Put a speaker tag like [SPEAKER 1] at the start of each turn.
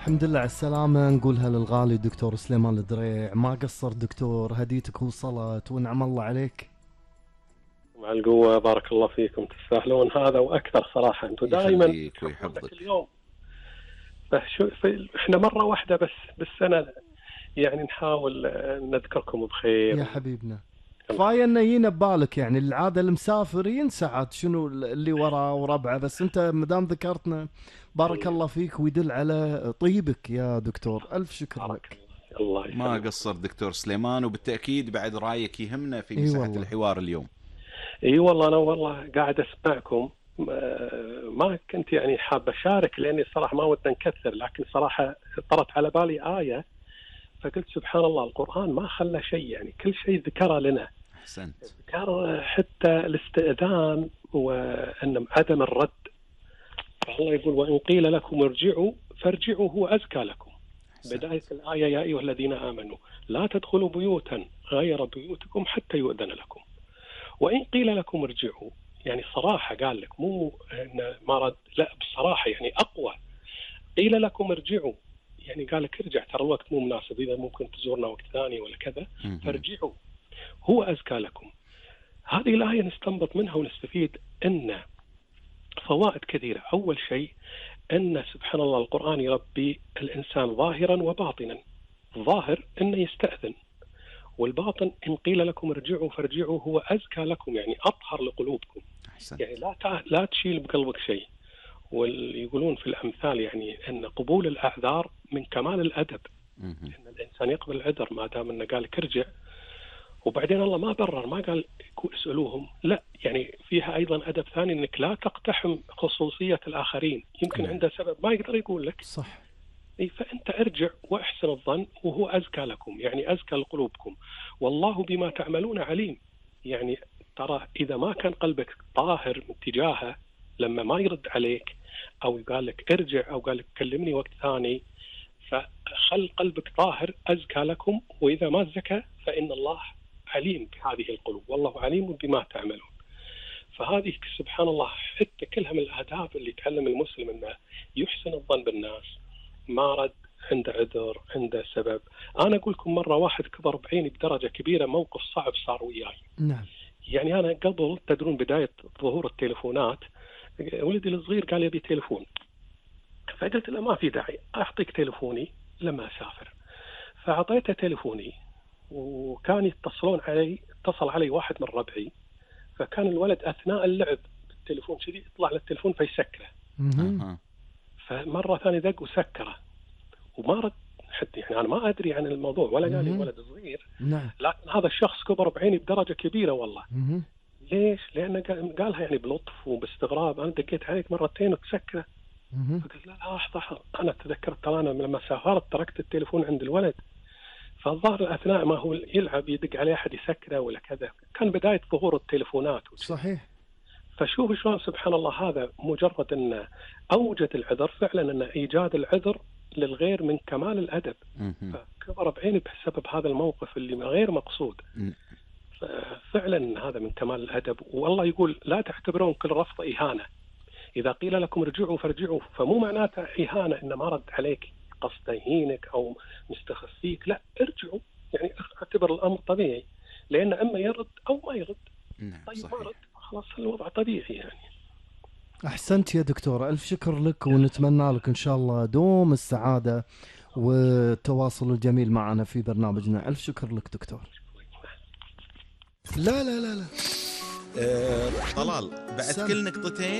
[SPEAKER 1] الحمد لله على السلامة، نقولها للغالي دكتور سليمان الدريع. ما قصر دكتور، هديتك وصلت ونعم الله عليك.
[SPEAKER 2] مع القوة، بارك الله فيكم، تستاهلون هذا وأكثر صراحة. أنتم دائما
[SPEAKER 3] يخليك ويحفظك.
[SPEAKER 2] اليوم إحنا مرة واحدة بس بالسنة، يعني نحاول نذكركم بخير.
[SPEAKER 1] يا حبيبنا كفاية انه يجينا ببالك، يعني العادة المسافر ينسى عاد شنو اللي وراه وربعه، بس انت مدام ذكرتنا بارك الله فيك ويدل على طيبك يا دكتور. الف شكر لك.
[SPEAKER 2] الله
[SPEAKER 3] ما قصر دكتور سليمان، وبالتأكيد بعد رأيك يهمنا في مساحة الحوار اليوم.
[SPEAKER 2] اي والله انا والله قاعد اسمعكم، ما كنت يعني حاب اشارك لاني صراحة ما ودنا نكثر، لكن صراحة طرت على بالي آية فقلت سبحان الله، القرآن ما خلى شيء، يعني كل شيء ذكره لنا.
[SPEAKER 3] أحسنت.
[SPEAKER 2] ذكر حتى الاستئذان وأن عدم الرد. فالله يقول وإن قيل لكم ارجعوا فارجعوا هو أزكى لكم. بداية الآية يا أيها الذين آمنوا لا تدخلوا بيوتا غير بيوتكم حتى يؤذن لكم. وإن قيل لكم ارجعوا، يعني صراحة قال لك، مو إن ما رد، لا بصراحة يعني أقوى. قيل لكم ارجعوا، يعني قال لك ارجع، ترى الوقت مو مناسب، إذا ممكن تزورنا وقت ثاني ولا كذا، فارجعوا هو أزكى لكم. هذه الآية نستنبط منها ونستفيد أن فوائد كثيرة. أول شيء أن سبحان الله القرآن يربي الإنسان ظاهرا وباطنا. الظاهر أنه يستأذن، والباطن إن قيل لكم ارجعوا فارجعوا هو أزكى لكم، يعني أطهر لقلوبكم. يعني لا تشيل بقلبك شيء. ويقولون في الأمثال يعني أن قبول الأعذار من كمال الأدب، أن الإنسان يقبل العذر ما دام أنه قال لك ارجع. وبعدين الله ما برر، ما قال اسألوهم، لا، يعني فيها أيضا أدب ثاني أنك لا تقتحم خصوصية الآخرين، يمكن عنده سبب ما يقدر يقول لك.
[SPEAKER 1] صح.
[SPEAKER 2] فأنت ارجع وأحسن الظن وهو أزكى لكم، يعني أزكى لقلوبكم، والله بما تعملون عليم. يعني ترى إذا ما كان قلبك طاهر من تجاهه، لما ما يرد عليك أو قال لك ارجع أو قال لك كلمني وقت ثاني، فخل قلبك طاهر أزكى لكم. وإذا ما زكى فإن الله عليم بهذه القلوب، والله عليم بما تعملون. فهذه سبحان الله حتى كلها من الآداب اللي تعلم المسلم أنه يحسن الظن بالناس. ما رد، عنده عذر، عنده سبب. أنا أقول لكم مرة واحد كبر بعيني بدرجة كبيرة، موقف صعب صار وياي.
[SPEAKER 1] نعم.
[SPEAKER 2] يعني أنا قبل تدرون بداية ظهور التليفونات، ولدي الصغير قال يبي تليفون، فقلت له ما في داعي، أعطيك تليفوني لما أسافر. فأعطيته تليفوني، وكان اتصل علي واحد من ربعي، فكان الولد أثناء اللعب بالتليفون شديد يطلع للتليفون فيسكره. فمرة ثانية دق وسكره وما رد حتى، يعني أنا ما أدري عن الموضوع ولا قال لي ولد صغير.
[SPEAKER 1] نعم.
[SPEAKER 2] لكن هذا الشخص كبر بعيني بدرجة كبيرة والله. ليش؟ لأنه قالها يعني بلطف وباستغراب، أنا دقيت عليك مرتين وتسكره. فقلت لا لحظة، أنا تذكرت ترى أنا لما سافرت تركت التليفون عند الولد، فالظاهر أثناء ما هو يلعب يدق عليه أحد يسكره ولا كذا. كان بداية ظهور التليفونات.
[SPEAKER 1] صحيح.
[SPEAKER 2] فشوف شلون سبحان الله، هذا مجرد أن أوجد العذر، فعلا أن إيجاد العذر للغير من كمال الأدب. فكبر بعيني بسبب هذا الموقف اللي غير مقصود. فعلا هذا من كمال الأدب. والله يقول لا تعتبرون كل رفض إهانة، إذا قيل لكم ارجعوا فارجعوا، فمو معناته إهانة إن ما رد عليك قصد يهينك أو مستخفيك، لا، ارجعوا، يعني اعتبر الأمر طبيعي، لأن أما يرد أو ما يرد. طيب صحيح. ما رد خلاص الوضع طبيعي يعني.
[SPEAKER 1] أحسنت يا دكتور، ألف شكر لك، ونتمنى لك إن شاء الله دوم السعادة والتواصل الجميل معنا في برنامجنا. ألف شكر لك دكتور. لا لا لا لا
[SPEAKER 3] طلال بعد كل نقطتين